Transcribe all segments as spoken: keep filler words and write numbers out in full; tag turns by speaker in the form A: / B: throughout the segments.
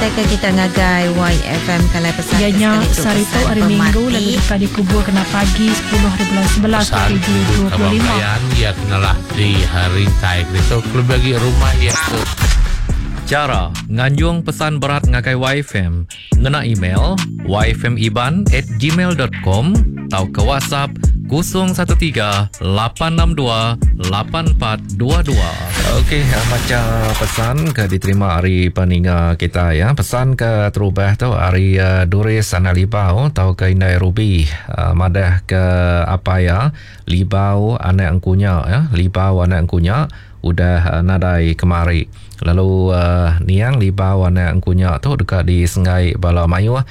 A: Ngenatai ke kita ngagai Y F M kalai pesan
B: Iya
A: ke
B: nya
A: sekali tu
B: sehari tu
A: pesan
B: hari Minggu
A: pemati.
B: Lalu deka dikubur kena pagi sepuluh hari bulan sebelas
C: Pesan
B: dua ribu dua puluh lima.
C: Kaban ya kenalah di hari rintai itu lebih bagi rumah ya ke
D: Cara nganjung pesan berat ngagai Y F M ngena email y f m iban at gmail dot com atau ke WhatsApp kosong satu tiga lapan enam dua lapan empat dua dua.
E: Okey, macam pesan ke diterima hari peninga kita ya. Pesan ke terubah tu hari, uh, Duris Anak Libau atau ke Indai Ruby, uh, madah ke apa ya Libau anak engkunya ya, Libau anak engkunya udah, uh, nadai kemari. Lalu, uh, niang Libau anak engkunya tu dekat di Sengai Bala Mayuh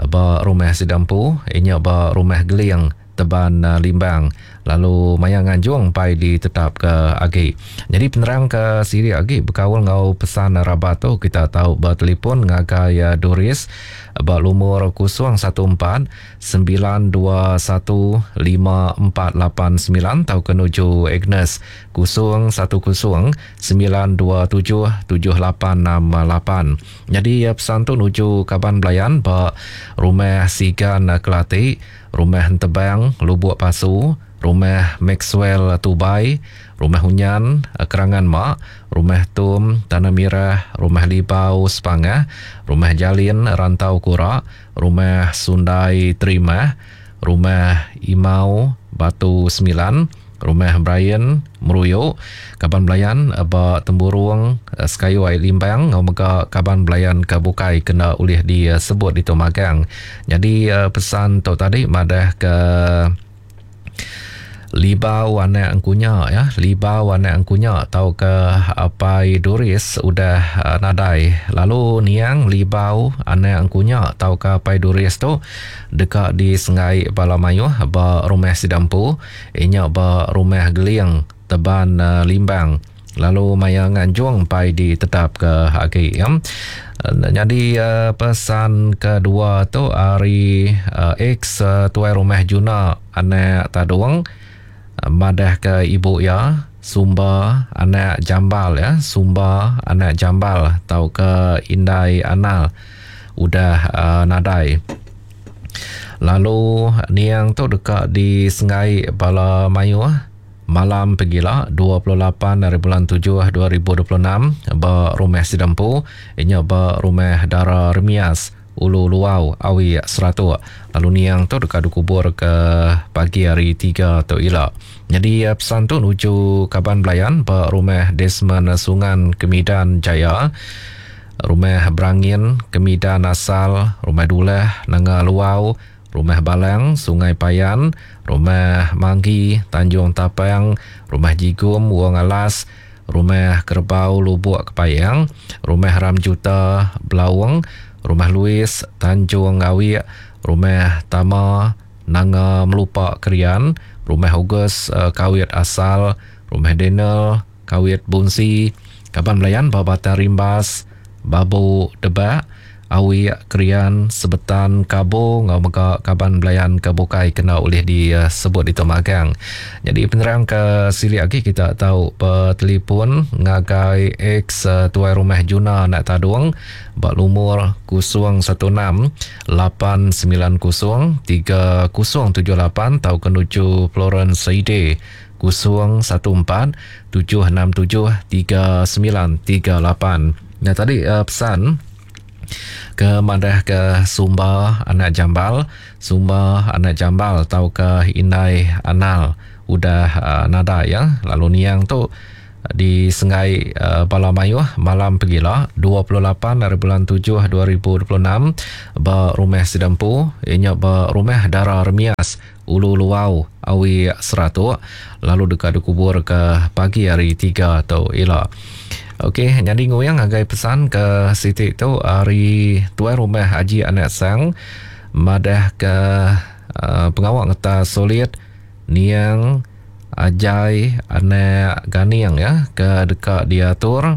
E: ba rumah Sidampu, inya ba rumah Geling Teban, uh, Limbang. Lalu maya nganjung pai ditetap ke agi. Jadi penerang ke siri agi berkaul ngau pesan rabat tu kita tahu bertelefon ngagai, uh, Doris ba lumur kosong satu empat sembilan dua satu lima empat lapan sembilan atau ke nuju Agnes kosong satu kosong sembilan dua tujuh tujuh lapan enam lapan. Jadi, uh, pesan tu nuju kaban belayan ba rumah Sigan Kelati, rumah Tebang Lubuk Pasu, rumah Maxwell Tubai, rumah Hunyan Kerangan Mak, rumah Tum Tanah Mirah, rumah Libau Sepangah, rumah Jalin Rantau Kura, rumah Sundai Terimah, rumah Imau Batu Sembilan, rumah Brian Meruyuk, kaban belayan ba Temburung Sekayu Air Limbang, ngau mega kaban belayan ke bukai kena ulih disebut di Tomagang. Jadi pesan tu tadi madah ke Libau anak engkunya ya, Libau anak engkunya atau ke Apai Doris udah, uh, nadai. Lalu niang Libau anak engkunya atau ke Apai Doris tu dekat di Sengai Bala Mayuh ba rumah Sidampu, inya ba rumah Geling Teban, uh, Limbang. Lalu maya nganjung pai ditetap ke agi ya. Jadi, uh, pesan kedua tu hari, uh, ex, uh, tuai rumah Juna anak Tadung madah ke ibu ya Sumba anak Jambal ya, Sumba anak Jambal atau ke Indai Anal udah, uh, nadai. Lalu niang tu dekat di Sengai Bala Mayuh malam pegila dua puluh lapan hari bulan tujuh dua ribu dua puluh enam ba rumah Sidampu, inya ba rumah Dara Remias Ulu Luau Awi Seratuk. Lalu niang tu dekat dikubur ke pagi hari tiga tu ila. Jadi pesan tu nuju kaban belayan ba rumah Desmond Sungan Kemidan Jaya, rumah Berangin Kemidan Asal, rumah Dulah Nanga Luau, rumah Balang Sungai Payan, rumah Manggi Tanjung Tapang, rumah Jigum Wong Alas, rumah Kerbau Lubuk Kepayang, rumah Ramjuta Belawang, rumah Louis Tanjung Awik, rumah Tama Nanga Melupak Krian, rumah August, uh, Kawit Asal, rumah Daniel Kawit Bunsi, kaban belayan Babatan Rimbas, Babu Debak, Awik Krian, Sebetan Kabo, ngau mega kaban belayan ke bukai kena oleh disebut di Tomagang. Jadi penerang ke sili lagi kita tahu bertelefon ngagai ex, uh, tuai rumah Juna anak Tadung bak lumur kosong satu enam lapan sembilan kosong tiga kosong tujuh lapan atau kenuju Florence Saide kosong satu empat tujuh enam tujuh tiga sembilan tiga lapan. Nah tadi, uh, pesan ke madah ke Sumba anak Jambal, Sumba anak Jambal atau ke Indai Anal udah, uh, nada ya. Lalu niang tu di Sengai, uh, Bala Mayuh malam pegila dua puluh lapan hari bulan tujuh dua ribu dua puluh enam ba rumah Sidampu, inya ba rumah Dara Remias Ulu Luau Awi Seratuk, lalu dekat dikubur ke pagi hari tiga tu ila. Okey, jadi nguyang agai pesan ke Siti tu hari tuai rumah Haji Anak Sang madah ke, uh, pengawak ngeta solid niang Ajai Anak Ganing ya ke dekat diatur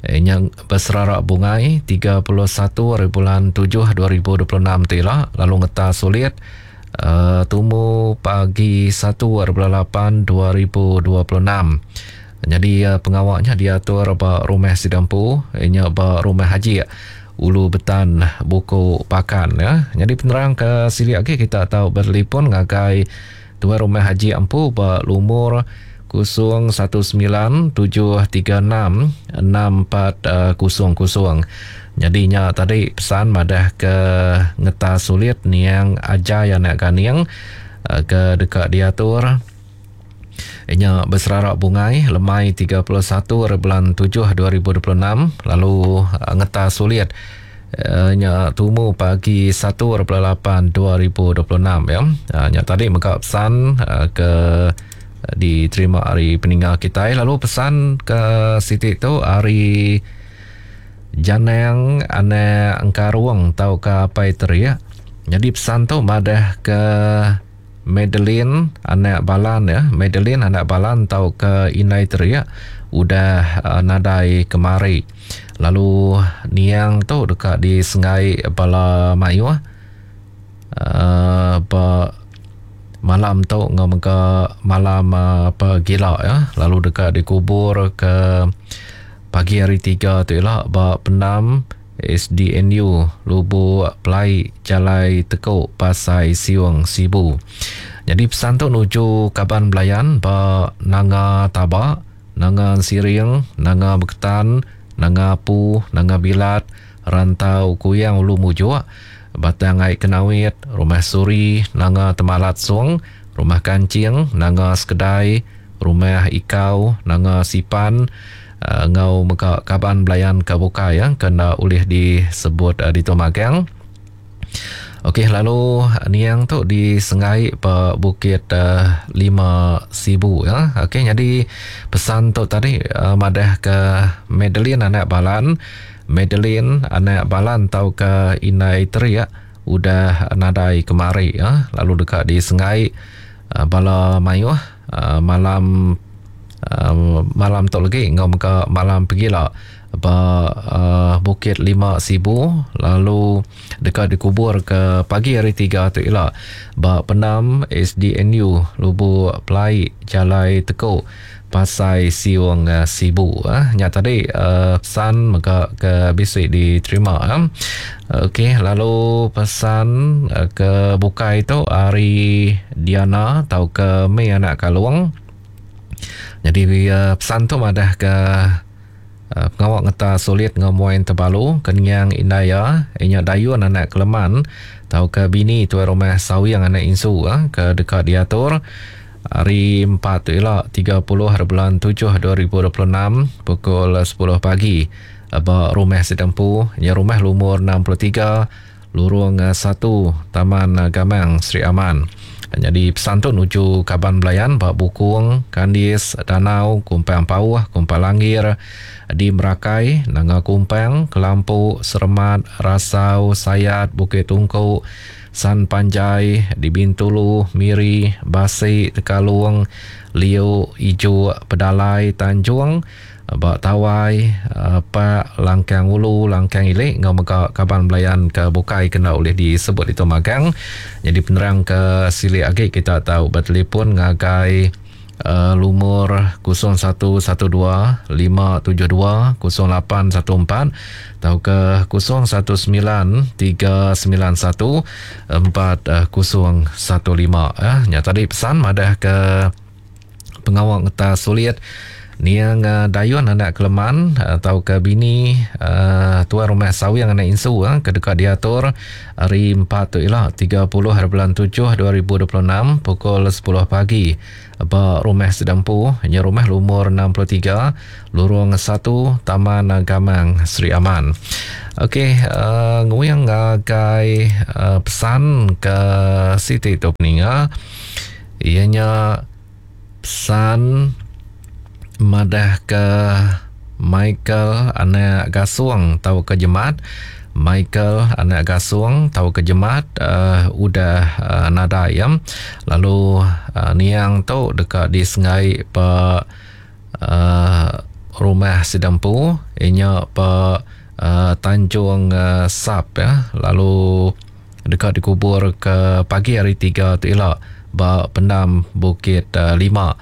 E: eh, yang berserarak bungai tiga puluh satu hari bulan tujuh dua ribu dua puluh enam tu ila, lalu ngeta solid, uh, tumu pagi satu hari bulan lapan dua ribu dua puluh enam. Jadi, uh, pengawaknya diatur ba rumah Sidampu, inya ba rumah Haji Ulu Betan Buku Pakan ya. Jadi penerang ke silik lagi kita tahu bertelefon ngagai Tuan Rumah Haji Ampu ba lumur kosong satu sembilan tujuh tiga enam enam empat kosong kosong. Jadinya tadi pesan madah ke ngeta sulit niang Ajai anak Ganing ke dekat diatur. Inya berserarak bungai lemai tiga puluh satu bulan tujuh dua ribu dua puluh enam lalu ngeta sulit nya tumu pagi satu bulan lapan dua ribu dua puluh enam ya. Nya tadi mega pesan ke diterima hari peninggal kita lalu pesan ke Siti tu hari Janang anak Engkarung tau ke apai teriak. Jadi pesan tu madah ke Madeline anak Balan ya, Madeline anak Balan tau ke Inai teriak udah uh, nadai kemari. Lalu niang tu dekat di Sengai bala mayuh uh, ba malam tu ngau mega malam uh, pegila ya, lalu dekat dikubur ke pagi hari tiga tu ialah ba pendam S D N U Lubuk Pelai Jalai Tekuk Pasai Siung Sibu. Jadi pesan tu nuju kaban belayan ba Nanga Tabak, Nanga Siring, Nanga Beketan, Nanga Apu, Nanga Bilat, Rantau Kuyang Ulu Mujuk, Batang Ai Kenawit, Rumah Suri, Nanga Temalat Sung, Rumah Kancing, Nanga Sekedai, Rumah Ikau, Nanga Sipan, uh, ngau mega kaban belayan ke bukai ya, kena ulih disebut uh, di Tomagang. Okey, lalu niang tu di Sengai pe Bukit uh, Lima Sibu ya. Okey, jadi pesan tu tadi uh, madah ke Madeline anak Balan, Madeline anak Balan tau ke Inai teriak udah nadai kemari ya. Lalu dekat di Sengai uh, bala mayuh uh, malam uh, malam tu lagi ngau mega malam pegila ba uh, Bukit Lima Sibu, lalu dekat dikubur ke pagi hari tiga tu ila ba pendam S D N U Lubuk Pelai Jalai Tekuk Pasai Siung uh, Sibu. Ah, nya tadi uh, pesan mega ke bisi diterima. Ah. Okey, lalu pesan uh, ke bukai tu hari Diana tau ke Mei anak Kalung. Jadi uh, pesan tu madah ke Uh, pengawak ngeta sulit ngomoin terbalu kenyang indaya inya dayun anak keleman tau ke bini tuan rumah sawi yang anak insu uh, ke dekat diatur hari empat tu ila tiga puluh hari bulan tujuh dua ribu dua puluh enam pukul sepuluh pagi ba rumah Sidempu nya rumah lumur enam puluh tiga lurung satu Taman Gamang Sri Aman. Jadi pesan tu nuju kaban belayan bak Bukung, Kandis, Danau, Kumpang Pauh, Kumpang Langir, di Merakai, Nanga Kumpang, Kelampu, Seremat, Rasau, Sayat, Bukit Tungku, San Panjai, di Bintulu, Miri, Basi, Tekalung, Liu, Ijuk, Pedalai, Tanjung, Bak Tawai, Pak Langkang Ulu, Langkang Ilik, ngau mega kaban belayan ke bukai kena oleh disebut itu magang. Jadi penerang ke silik agi kita tahu bertelefon ngagai uh, lumur kosong satu satu dua lima tujuh dua kosong lapan satu empat atau ke kosong satu sembilan tiga sembilan satu empat kosong satu lima. Eh, nya tadi pesan madah ke pengawak ngeta sulit niang uh, dayun anak keleman atau ke bini uh, tuan rumah sawi yang anak insu uh, ke dekat diatur hari empat tu ialah tiga puluh hari bulan tujuh dua ribu dua puluh enam pukul sepuluh pagi ba rumah Sedempu nya rumah lumur enam puluh tiga lurung satu Taman Gamang Sri Aman. Okey, uh, nguyang ngagai uh, pesan ke Siti tu peninga ianya pesan madah ke Michael anak Gasung tau ke Jemat. Michael anak Gasung tau ke Jemat uh, udah uh, nadai ya. Lalu uh, niang tu dekat di Sengai pe uh, rumah Sidempu inya pe uh, Tanjung uh, Sap ya. Lalu dekat dikubur ke pagi hari tiga tu ila ba pendam Bukit uh, Lima.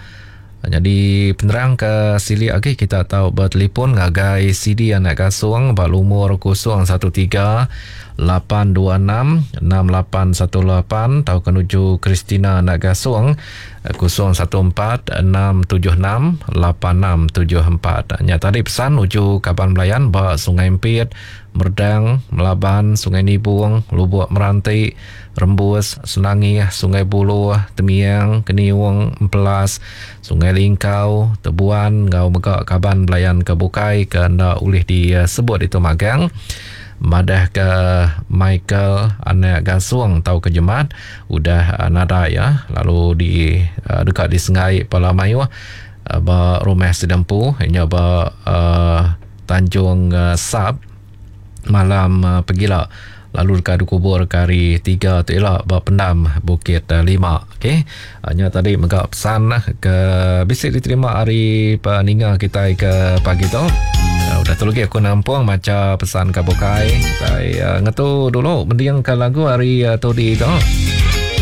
E: Jadi penerang ke sili lagi kita tahu bertelefon ngagai C D anak kasung ba lumur kosong satu tiga lapan dua enam enam lapan satu lapan atau menuju Christina anak gasung kosong satu empat enam tujuh enam lapan enam tujuh empat. Nya tadi pesan nuju kaban belayan ba Sungai Empit, Merdang, Melaban, Sungai Nibung, Lubuk Meranti, Rembus, Senangih, Sungai Buluh, Temiang, Keniung, Empelas, Sungai Lingkau, Tebuan, ngau mega kaban belayan ke bukai ke nda ulih disebut itu magang. Madah ke Michael anak gasung tau ke Jemat udah nada ya lalu di dekat di Sengai Pala Mayuh ba rumah Sedempu nya ba uh, Tanjung uh, Sap malam uh, pegila lalu dekat dikubur ke hari tiga tu elok ba pendam Bukit Lima. Okey, nya tadi mega pesan ke bisi diterima hari peninga kita ke pagi tu. Udah tu lagi aku nampung maca pesan ke bukai. Saya ngetu dulu mending ke lagu hari uh, tu di tu.